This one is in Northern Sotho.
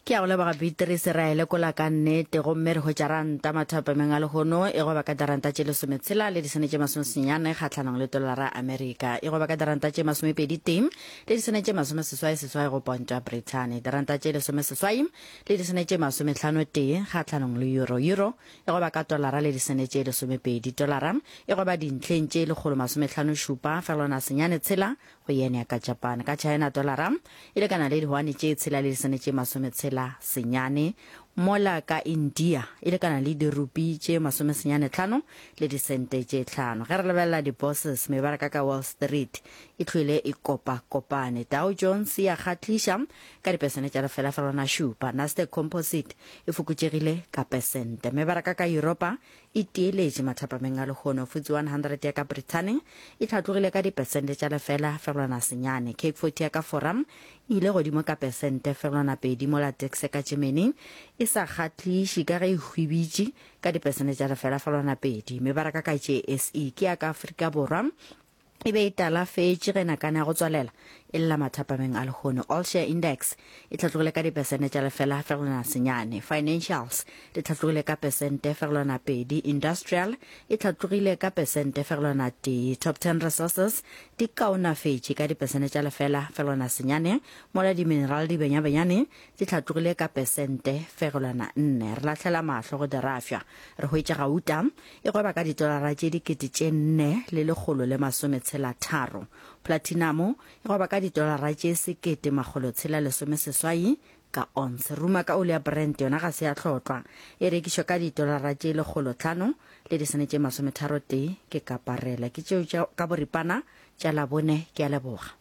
Ke a go leboga Beatrice, re a e lekola ka nnete gomme re hwetša ranta mathapameng a lehono e gweba ka diranta tše lesometshela le disene tše masomesenyane kgahlanong le tolara ya Amerika, e gweba ka diranta tše masomepedi tee le disene tše masomeseswai seswai go ponto ya Brithani, diranta tše lesomeseswai le disene tše masomehlano tee kgahlanong le euro, euro e gweba ka tolara le disene tše lesomepedi, tolara e gweba dintlheng tše lekgolo masomehlano šupa fegelwana senyane tshela go yen ya ka Japan. Ka China tolara e lekana le dihwane tše tshela le disene tše masometshela senyane, mola ka India e lekana le dirupi tše masomesenyane tlhano le disente tše tlhano. Ge re lebelela di-bourses, mebaraka ka Wall Street e hlwele e kopa-kopane. Dow Jones ya kgahliša ka dipesene tša lefela fegelwana šupa, Nasdaq Composite e fokotšegile ka pesente. Mebaraka ka Yuropa e tieletše mathapameng a lehono. FTSE 100 ya ka Brithani e hlatlogile ka dipesente tša lefela fegelwana senyane. Cape 40 ya ka Fora e ile godimo ka pesente fegelwana pedi mola DAX ya ka Germany e sa kgahliše ka ge e hwibitše ka dipesente tša lefela fegelwana pedi. Mebaraka ka JSE ke ya ka Afrika Borwa e be e talafetše ge nakana ya go tswalela e lla mathapameng a lehono. All Share Index e hlatlogile ka dipesente tša lefela fegelwana senyane. Financials di hlatlogile ka pesente fegelwana pedi. Industrial e hlatlogile ka pesente fegelwana tee. Top Ten Resources di kaonafetše ka dipesente tša lefela fegelwana senyane, mola di-mineral di benyabenyane di hlatlogile ka pesente fegelwana nne. Re lahlela mahlo go dirafša, re hwetša gauta E gweba ka ditolara tše 4163. Platinamo e gweba ka ditolara tše 1618 ka onse. Ruma ka oli ya Brent yona ga se ya hlotlwa. E rekišwa ka ditolara tše 500 le disene tše 31 ke kaparela. Ke tšeo tša ka boripana tša Labone. Ke a leboga.